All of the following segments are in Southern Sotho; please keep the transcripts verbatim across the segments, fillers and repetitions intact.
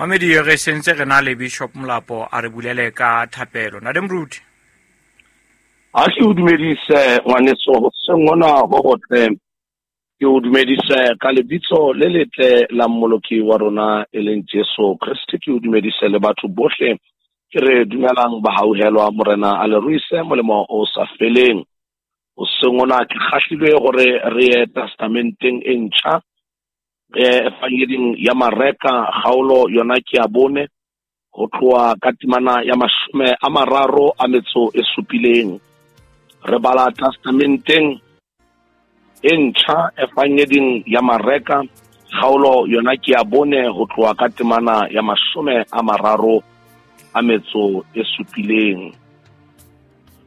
Mamedi re sentse re na le Bishop Molapo a re bulele ka thapelo. Ntate Moruti. A ke o dumedise ngwaneso hoseng hona ho hotle. Ke o dumedise ka lebitso le letle la Mmoloki wa rona e leng Jesu Kreste. Ke o dumedise le batho bohle ke re dumelang ba hauhelwa Morena a le ruise molemo o sa feleng. Hoseng hona ke kgahlilwe hore re ye testamenteng e ntjha, Evangeding ya Mareka kgaolo yona ke ya bone ho tloha ka temana ya mashome a mararo a metso e supileng. Re bala testamenteng e ntjha Evangeding ya Mareka kgaolo yona ke ya bone ho tloha ka temana ya mashome a mararo a metso e supileng.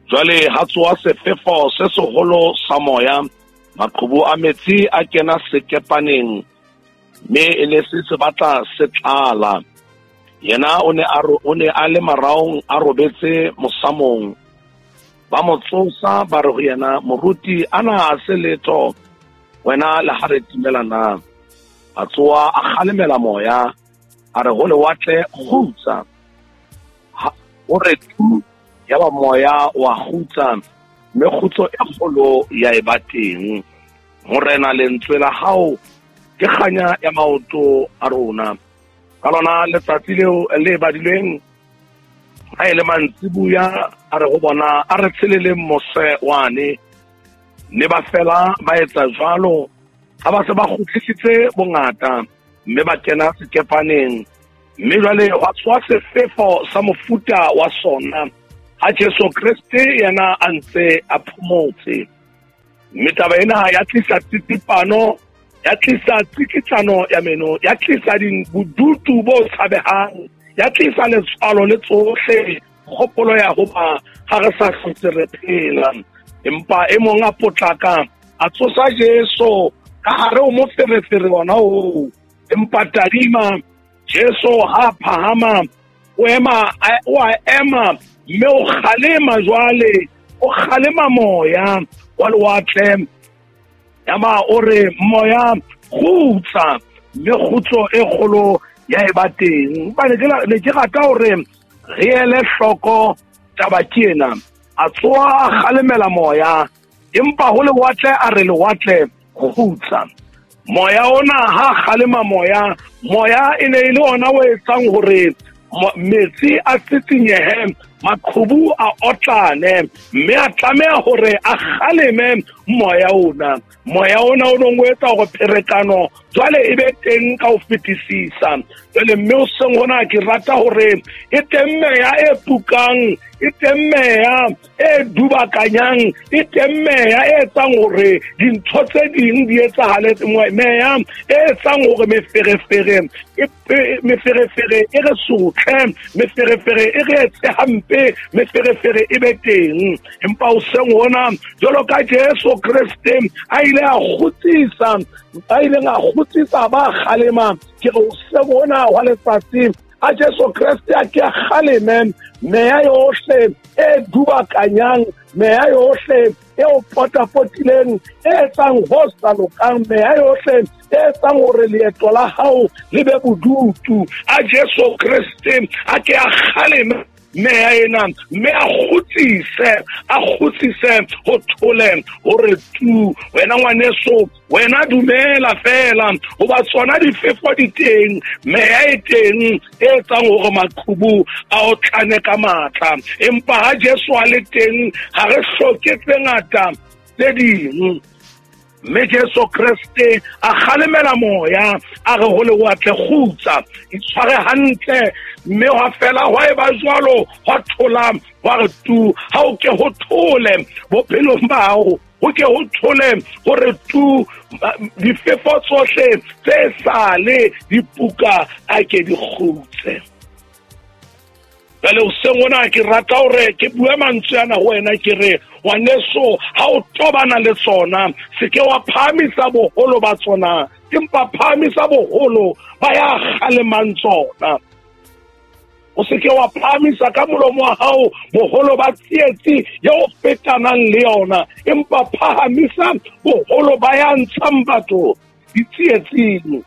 Jwale ha tsoha sefefo se seholo sa moya, maqhubu a metsi a kena sekepaneng, mme e ne se se batla se tlala. Yena o ne a o ne a le maraong a robetse mosamong. Ba mo tsosa ba re ho yena, moruti ana a se letho wena le ha re timela na? A tsoha a kgalemela moya, a re ho lewatle kgutsa. O re tu, yaba moya wa kgutsa, mme kgutso e kgolo ya eba teng. Morena, lentswe la hao ke kganya ya maoto a rona. Ka lona letsatsi leo le badilweng, ha e le mantsibuya, a re ho bona, a re tsheleleng mose wane. Mme ba fela ba etsa jwalo, ha ba se ba kgutlisitse bongata, mme ba kena sekepaneng. Mme jwale hwa tswa sefefo sa mofuta wa sona, ha Jesu Kreste yena a ntse a phomotse. Mme taba ena ya tlisa tsitsipano, ya tlisa tsikitlano ya meno, ya tlisa bodutu bo tshabehang, ya tlisa letswalo le tsohle, kgopolo ya hoba ha re sa hlotse re phela. Empa e mong a potlaka a tsosa Jesu ka hare ho moferefere ona oo. Empa tadima, Jesu ha phahama, o ema, o a ema, mme o kgalema jwale, o kgalema moya wa lewatle. Yaba o re, moya kgutsa, mme kgutso e kgolo ya eba teng. Hobane ke ne ke rata hore re ele hloko taba ke ena. A tsoha a kgalemela moya, empa ho lewatle a re lewatle kgutsa. Moya ona ha kgalema moya, moya e ne e le ona o etsang hore metsi a tsitsinyehe, maqhubu a otlane, mme a tlameha hore a kgaleme moya ona. Moya ona o nong o etsa hore pherekano jwale e be teng ka ho fetisisa. Jwale mme hoseng hona ke rata hore e teng meya e pukang, e teng meya e dubakanyang, e teng meya e etsang hore dintho tse ding di etsahale, meya e etsang hore meferefere e meferefere e re sotle, meferefere e re etse hampe, meferefere e be teng. Empa hoseng hona jwalo ka Jesu Kreste a ile a kgutsisa, a ileng a kgutsisa ba kgalema, ke re hoseng hona wa letsatsi a Jesu Kreste a ke a kgaleme meya yohle e dubakanyang, meya yohle e o potapotileng, e etsang ho sa lokang, meya yohle e etsang hore leeto la hao le be bodutu. A Jesu Kreste a ke a kgaleme meya ena, mme a kgutsise, a kgutsise ho thole hore tu. Wena ngwaneso, wena dumela fela hoba tsona difefo di teng, meya e teng e etsang hore maqhubu a otlane ka matla. Empa ha Jesu a le teng, ha re hloke tse ngata tse ding. Mme Jesu Kreste a kgalemela moya, a re ho lewatle kgutsa, itshware hantle. Mme hwa fela hwa eba jwalo, hwa thola, hwa re tu. Ha o ke ho thole bophelong ba hao, ho ke ho thole hore tu, difefo tsohle tse sale di puka a ke di kgutse. Jwale hoseng hona ke rata hore ke bue mantswe ana ho wena, ke re ngwaneso, ha o tobana le tsona, se ke wa phahamisa boholo ba tsona, empa phahamisa boholo ba ya kgalemang tsona. O se ke wa phahamisa ka molomo wa hao boholo ba tsietsi eo fetanang le yona, empa phahamisa boholo ba ya ntshang batho ditsietsing.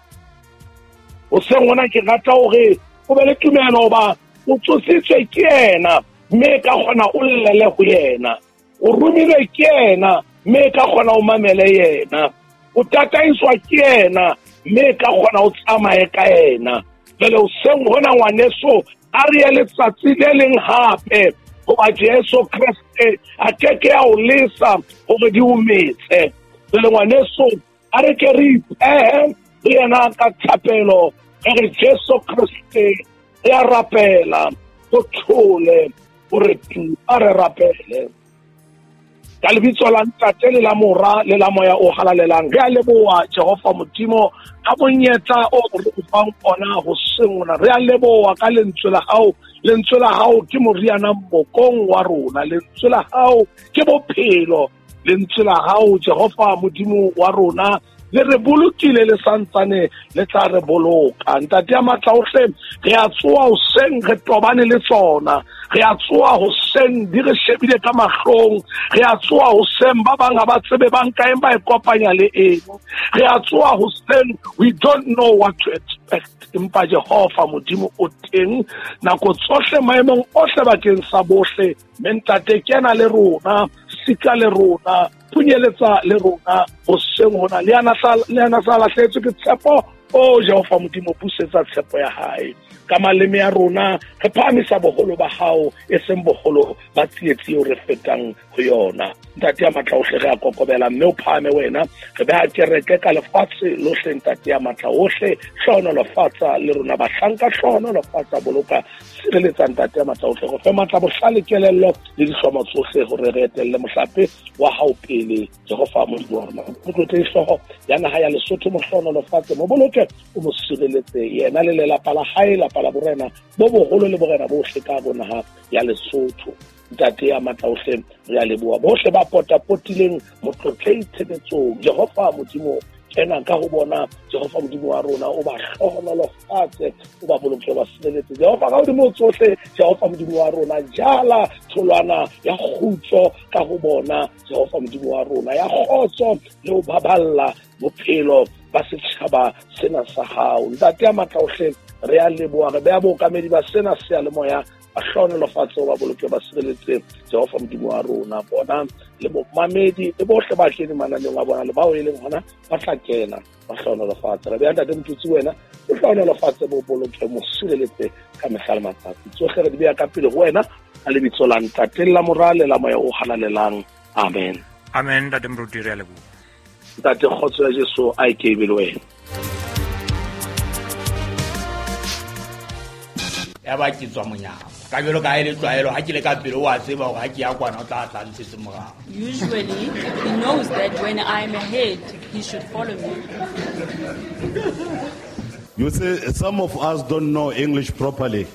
Hoseng hona ke rata hore O be le tumelo hoba o tsositswe ke yena, mme ka kgona o llele ho yena. O romilwe ke yena, mme ka kgona o mamele yena. O tataiswa ke yena, mme ka kgona o tsamaye ka yena. Jwale hoseng hona ngwaneso, a re ye letsatsi le leng hape, hoba Jesu Kreste a keke a o lesa hore di o metse. Jwale ngwaneso, a re ke re ipehe le yena ka thapelo, re re Jesu Kreste re a rapela, o thole, o re tu, a re rapele. Ka lebitso la Ntate le la Mora le la Moya o Halalelang, re a leboha Jehova Modimo ka monyetla o re o fang ona hoseng hona. Re a leboha ka lentswe la hao. Lentswe la hao ke moriana mokong wa rona. Lentswe la hao ke bophelo. Lentswe la hao Jehova Modimo wa rona le re bolokile le santsane le tla re boloka. Ntate ya matla ohle, re a tsoha hoseng re tobane le tsona. Re a tsoha hoseng di re shebile ka mahlong. Re a tsoha hoseng ba bang ha ba tsebe ba nka eng ba e kopanya le eng. Re a tsoha hoseng, we don't know what to expect. Empa Jehova Modimo o teng nako tsohle maemong ohle bakeng sa bohle. Mme Ntate kena le rona, sika le rona, phunyeletsa le rona hoseng hona. Le yana sa, le yana sa lahlehetswe ke tshepo, o Jehova Modimo busetsa tshepo ya hae. Ka maleme a rona re phahamisa boholo ba hao, e seng boholo ba tsietsi eo re fetang ho yona. Ntate ya matla ohle, re a kokobela mme o phahame wena. Re beha kereke ka lefatshe lohle, Ntate ya matla ohle. Hlohonolofatsa le rona bahlanka, hlohonolofatsa, boloka, sireletsa Ntate ya matla ohle. Re fe matla, bohlale, kelello le dihlomo tsohle hore re etelle mohlape wa hao pele. Jehova Modimo wa rona, o tlotle hlooho ya naha ya Lesotho, mo hlohonolofatse, mo boloke, o mo sireletse yena le lelapa la hae, lapa la borena bo boholo le borena bohle ka bo naha ya Lesotho. Ntate ya matla ohle, re a leboha bohle ba potapotileng motlotlei tshebetsong. Jehova Modimo, kena ka ho bona. Jehova Modimo wa rona, o ba hlohonolofatse, o ba boloke, ba sireletse. Jehova ka hodimo tsohle, Jehova Modimo wa rona, jala tholwana ya kgutso ka ho bona. Jehova Modimo wa rona, ya kgotso le ho baballa bophelo ba setjhaba sena sa hao. Ntate ya matla ohle, re a leboha, re beha bookamedi ba sena seyalemoya, ba hlohonolofatse, ba boloke, ba sireletse. Jehova Modimo wa rona, bona le bomamedi le bohle ba kene mananeong a bona le bao e leng hona ba tla kena, ba hlohonolofatse. Re beha Ntate Motutsi wena, o hlohonolofatse, bo boloke, mo sireletse ka mehla le matsatsi. Tsohle re di beha ka pele ho wena ka lebitso la Ntate le la Mora le la Moya o Halalelang. Amen. Amen. Ntate Moruti, re a leboha. Ntate, kgotso ya Jesu a e ke e be le wena. Ya ba ke tswa monyako. Ka jwalo ka ha e le tlwaelo, ha ke le ka pele o a tseba hore ha ke ya kwana o tla tla ntshetse morao. Usually he knows that when I'm ahead he should follow me. You see, some of us don't know English properly.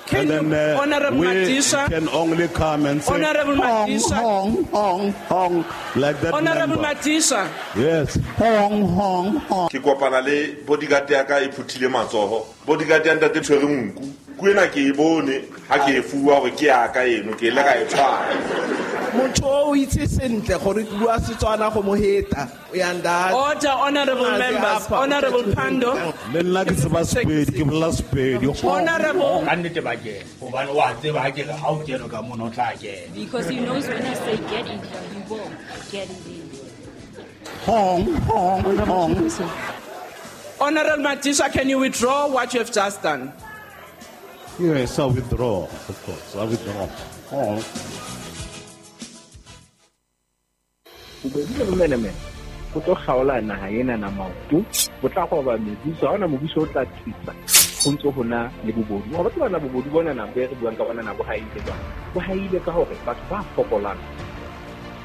Can and then uh, Honorable we Madisha, can only come and say, Honorable hong, Madisha, hong, hong, hong, like that. Honorable member. Madisha. Yes. Hong, hong, hong. Ke kopana le bodyguard ya ka e phuthile matsoho. Bodyguard ya ntate tshwere nku. Ku ena ke e bone ha ke e fuwa hore ke ya ka eno, ke ile ka e tshwara. Motho o itse sentle gore ke bua Setswana go mo heta. O ya nda. Order, honorable members. Honorable Pando. Le nna ke tseba Sepedi, ke bolela Sepedi. Honorable. Ka nnete ba kena, hobane o a tseba ha ke re ha o kene ka mona o tla kena. Because he knows when I say get in here, he will get in there. Hong, hong, hong. Honorable Madisha, can you withdraw what you have just done? Yes, I withdraw, of course. I withdraw. Hong. Bobedi le bomenemene bo tlo kgaola naha ena na maoto, bo tla roba mebuso, ha hona mobuso o tla thusa ho ntso ho na le bobodu. Wa batho bana bobodu bona na be re buang ka bona na bo haile jwang? Bo haile ka hore batho ba fokolang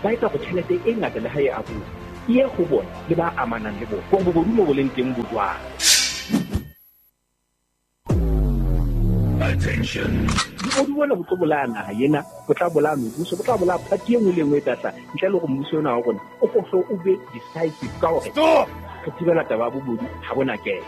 ba etsa hore tjhelete e ngata le ha e abuwa e ye ho bona le ba amanang le bona. Hore bobodu mo bo leng teng bo jwang? Attention. Bobodu bona bo tlo bolaya naha ena, bo tla bolaya mebuso, bo tla bolaya party e nngwe le e nngwe e tla tla ntle le hore mmuso ona wa rona o ko hlo o be decisive ka hore re thibela taba ya bobodu ha bona kena.